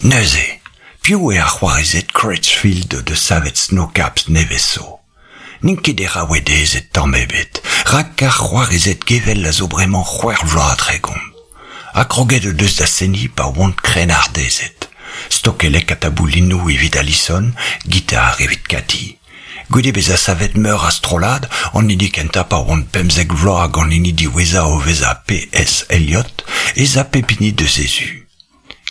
Neuze, piv eo ar c'hoarezed Crutchfield o deus savet Sno-Caps nevez zo? N'int ket deraouedezed tamm ebet, rak ar c'hoarezed gevell a zo bremañ c'hwec'h vloaz ha 30. Ha kroget o deus da seniñ pa oant krennardezed. Stokellek ha taboulinoù evit Alison, gitar evit Cathy. Goude bezañ savet meur a strollad, an hini kentañ pa oant 15 vloaz hag an hini diwezhañ o vezañ P.S. Eliot, ez a pep hini deus he zu.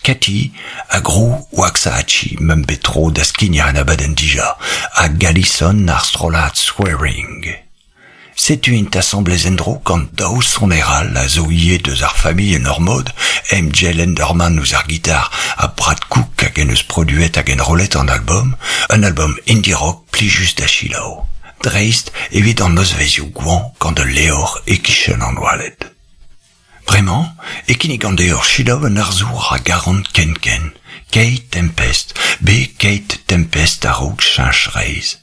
Cathy a grou Waxahachie m'am bet tro da skignañ an abadenn dija, hag Alison ar strollad Swearing. Setu int asambles en-dro gant daou soner all a zo ivez deus ar familh en ur mod, MJ Lenderman ouzh ar gitar ha Brad Cook hag en deus produet hag enrollet an album, un album indie rock plijus da selaou, dreist evit an nozvezhioù goañv gant ul levr e-kichen an oaled. Bremañ e kinnigan deoc'h selaou un arzour a garan ken-ken, Kate Tempest, bet Kate Tempest a-raok cheñch reizh.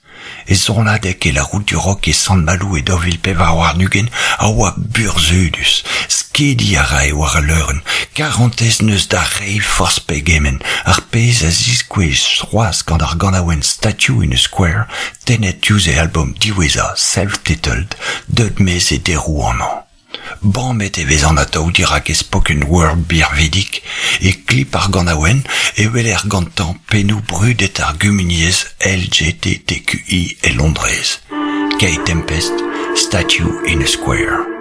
E sonadeg e La Route du Rock e Sant-Maloù e 2024 a oa burzhudus. Skediñ a rae war al leurenn. Karantez 'neus da reiñ forzh pegement, ar pezh a ziskouez c'hoazh gant ar ganaouenn Statue in a Square tennet diouzh e albom diwezhañ Self-Titled, deuet 'maez e deroù an hañv. Bamet e vezan atav dirak e spoken word birvidik. E klip ar ganaouenn e weler gantañ pennoù brudet ar gumuniezh LGTTQI e Londrez. Kate Tempest, Statue in a Square.